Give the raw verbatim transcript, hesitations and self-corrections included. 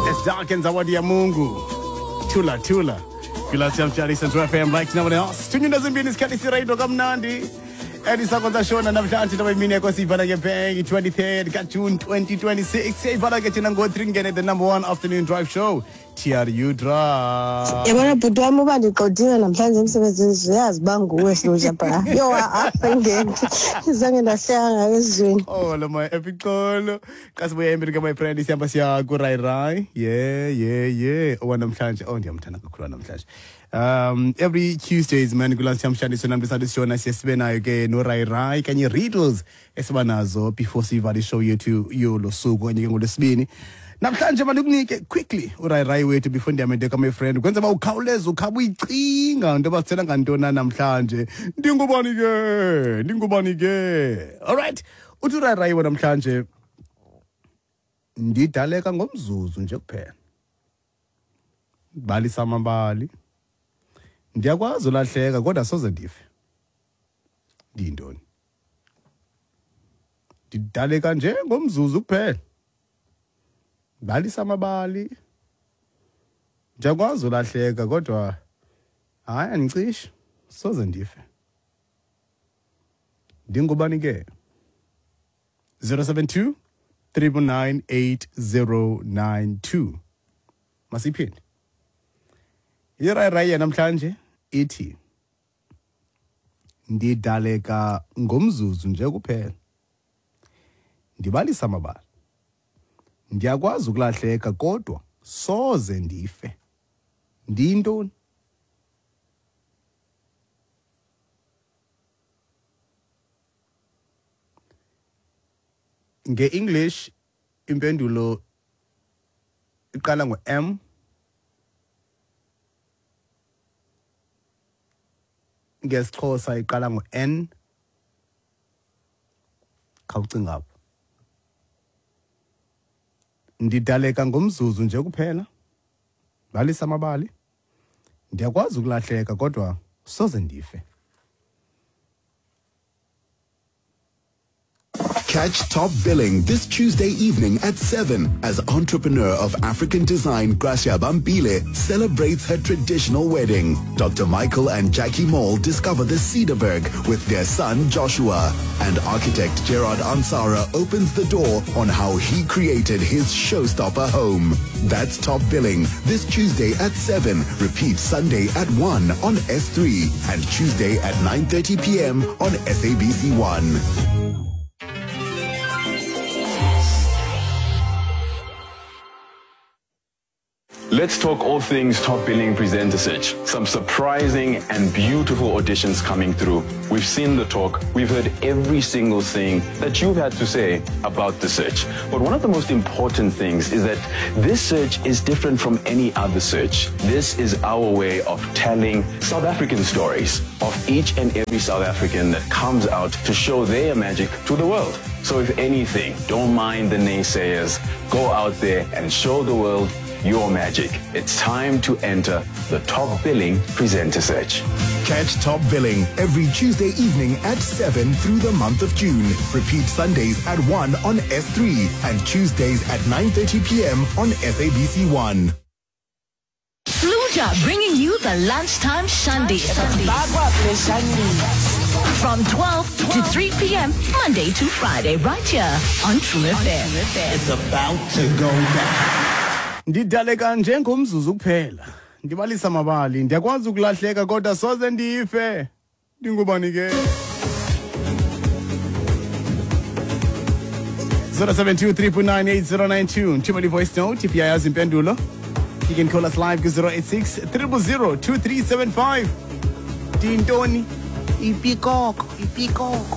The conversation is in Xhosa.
It's Dark and Zawadi ya Mungu. Tula Tula. Kula Central F M like no one else. Tunyunda zimbini isikhathi sirayito kamnandi. Edisakonza shona namhlanje ntoba imini yakho siyivala ke bang twenty-third ka June twenty twenty-six. Siyivala ke thina ngo three ngene the number one afternoon drive show. T R U Drive. Yabona bhuti wami uba ndiqodile namhlanje emsebenzini uyazi uba nguwe Sluja bra. Yo angeke. Zange ndahleka ngayo ezweni. Oh lo my epixolo. Xa sibuya embili ke my friend sihamba siya ku Rai Rai. Yeah yeah yeah. Owa namhlanje oh ndiyamthanda kakhulu namhlanje. Um every Tuesdays man kulantshamshaniso namhlanje sishona siye nayo ke no Rai Rai kanye riddles esiba nazo before sivale show yethu yolo suku kanye ke ngolwesibini. Namhlanje mandikunike quickly uRai Rai wethu before ndiyamende ka my friend kwenza ba ukhawuleze ukhaba uyicinga into basithela ngantona namhlanje. Ndingubani ke? Ndingubani ke? All right. Uthi uRai Rai wena namhlanje ndidaleka ngomzuzu nje kuphela. Balisa amabali. Ndiyakwazi ulahleka kodwa soze ndife. Ndiyintoni? Ndidaleka nje ngomzuzu kuphela. Balisa amabali. Ndiyakwazi ulahleka kodwa hayi andicishe soze ndife. Ndingubani ke? zero seven two, three nine eight zero nine two. Masiphinde. iRai Rai namhlanje ithi ndidaleka ngomzuzu nje kuphela. Ndibalisa amabali. Ndiyakwazi ukulahleka kodwa soze ndife. Ndiyintoni? Nge-English impendulo iqala ngo-M. NgesiXhosa iqala ngo-N. Khawucinga apho. Ndidaleka ngomzuzu nje kuphela. Balisa amabali. Ndiyakwazi ukulahleka kodwa soze ndife. Catch Top Billing this Tuesday evening at seven as entrepreneur of African design Gracia Bambile celebrates her traditional wedding. Doctor Michael and Jackie Mall discover the Cedarberg with their son Joshua. And architect Gerard Ansara opens the door on how he created his showstopper home. That's Top Billing this Tuesday at seven. Repeat Sunday at one on S three and Tuesday at nine thirty p m on S A B C one. Let's talk all things Top Billing Presenter Search. Some surprising and beautiful auditions coming through. We've seen the talk. We've heard every single thing that you've had to say about the search. But one of the most important things is that this search is different from any other search. This is our way of telling South African stories of each and every South African that comes out to show their magic to the world. So if anything, don't mind the naysayers. Go out there and show the world your magic. It's time to enter the Top Billing Presenter Search. Catch Top Billing every Tuesday evening at seven through the month of June. Repeat Sundays at one on S three and Tuesdays at nine thirty p m on S A B C one. Sluja bringing you the lunchtime shandy. From twelve to three p m Monday to Friday, right here on True F M. It's about to go down. Ndidaleka njengomzuzu kuphela. Ndibalisa amabali. Ndiyakwazi ukulahleka kodwa soze ndife. Ndingubani ke? zero seven two, three nine eight zero nine two. Thumela voice note if uyayazi impendulo. You can call us live ku zero eight six, triple zero, two three seven five. Dintoni? Ipikoko, ipikoko.